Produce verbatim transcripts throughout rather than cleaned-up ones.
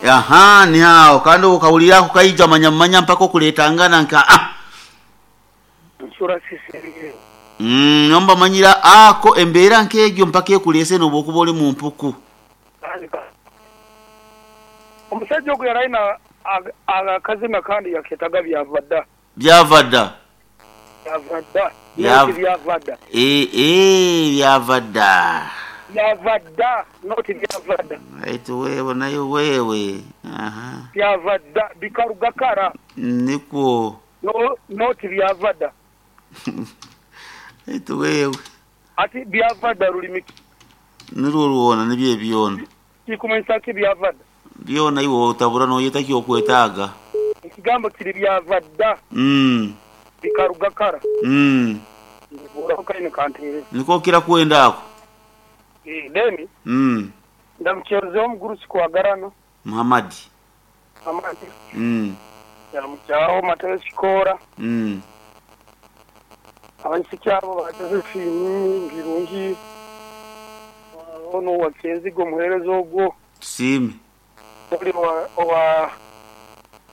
Aha, ni aho kandi okawulira ako kaija manya manya mpaka okuletangana nka ah. Nsura sisiriye. Mm, nomba manyira ako embeera nk'egyo mpaka ekulese noba okuba oli mu mpuku. Omusajja ogwo yali alina akazina kandi yaketaga byava dda. Byava dda. Byava dda. Noti byava dda. Eh eh byava dda. Byava dda noti byava dda. Aitu wewe nayo wewe. Aha. Byava dda bikaruga kara. Nikwo. No noti byava dda. Aitu wewe. Ati byava dda rulimi. Nirwo ruwona nibyo ebyona. Kikumanyisa ki byava dda? Byona iwe otabura noyeta kyokwetaaga. Ekigambo kiri byava dda. Mm. Bikaruga kara. Mm. Buraho kaine kantere. Niko kira kwenda ako. Eh, then Mm. ndamucherezeho omugurusi kwagarano. Muhammad. Muhammad. Mm. Yaramukyaho Matayo Kikoora. Mm. Abaisiki abo ba Josephine Ngirungi. Ono wa Kenzigo omuheereza ogwo. Tusiime. Oli owa, owa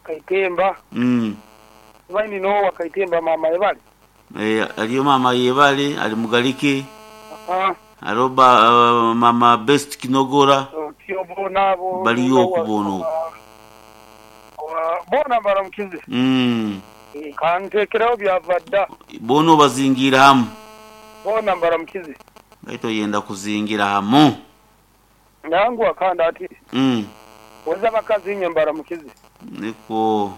Kaitemba. Mm. Baini no wa Kaitemba mama yebale. Eh, aliyo mama yebale ali mugalike. Aha. Aroba uh, mama Best Kinogora. Otyo bona abo. Baliyo okubona okwo. Bona baramukize. Mm. Kantekereho byava dda. Bona obazingira hamu. Bona baramukize. Baito yenda kuzingira hamu. Nangu akanda ati. Mm. Weza bakazi inye mbaramukize. Niko.